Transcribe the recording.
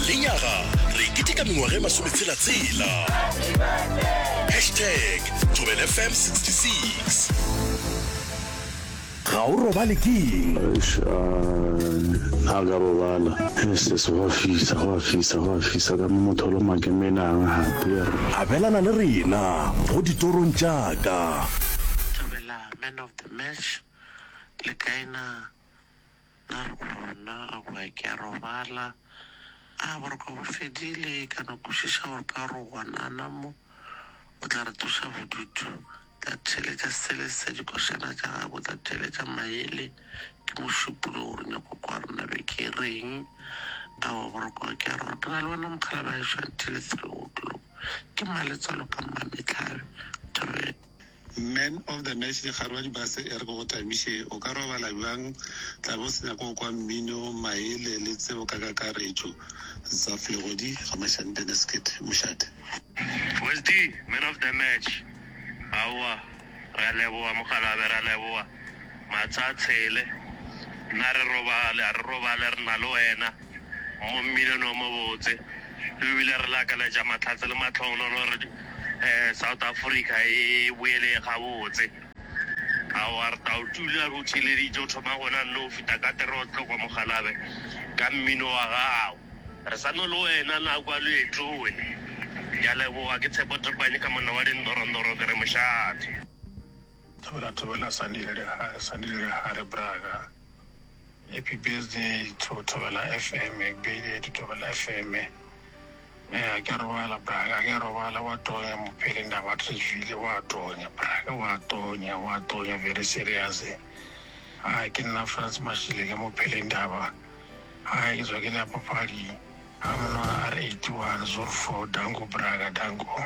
Lenyaga re keteka mengwaga e masometshela-tshela. Hashtag Thobela FM 66. Ga o robale keng? Eish, a ka robala. Sis, go a fisa, go a fisa, go a fisa ka mo motho o loma ke menang gape yerr. Abelana le rena go ditorong tša ka. Thobela man of the match le kae na na re gona aowa ke a robala a boroko bo fedile ka no kwešiša gore ka gore o gwanana mo o tla re tloša bodutu tla theeletša sele sa dikošana tša gago tla theeletša maele ke mošupologo gore nyako kwa rena be ke reng aowa boroko ke a roba ke na le wena mokgalabje wa gešo until 3 o'clock ke maletswalo ka mmametlhabe thobela. Man of the match Dikgarwa di base e re ke go tamiše o ka robala bjang tla be o se nyaka go kwa mmino maele le tsebo ka kakaretšo Zaf Legodi ga Mashante Neskit Mošate. Wesdy man of the match aowa re a leboga mokgalabje re a leboga matsha a tshele nna re robale a re robale re na le wena mo mminong o mobotse ebile re lakaletša mahlatse le mahlogonolo gore South Africa e boele gabotse. Aowa re tla o tula re o theeleditše o thoma gona nno o fihla ka terotlo kwa Mogalabe ka mmino wa gago. Re sa no le wena na kwa leetong. Ke a leboga ke Tshepo Topane ka monna wa dindorondoro ke re mošate. Thobela thobela Sandile Lehare Sandile Lehare Braga Happy birthday to Thobela FM Happy birthday to Thobela FM Eh ke a robala braga ke a robala wa tonya mophele ndaba Trevile wa tonya braga wa tonya wa tonya very serious a ke nna Frans Mashile ke mophele ndaba a ke tswa ke le ya papadi a monwana R 81 04 danko braga danko.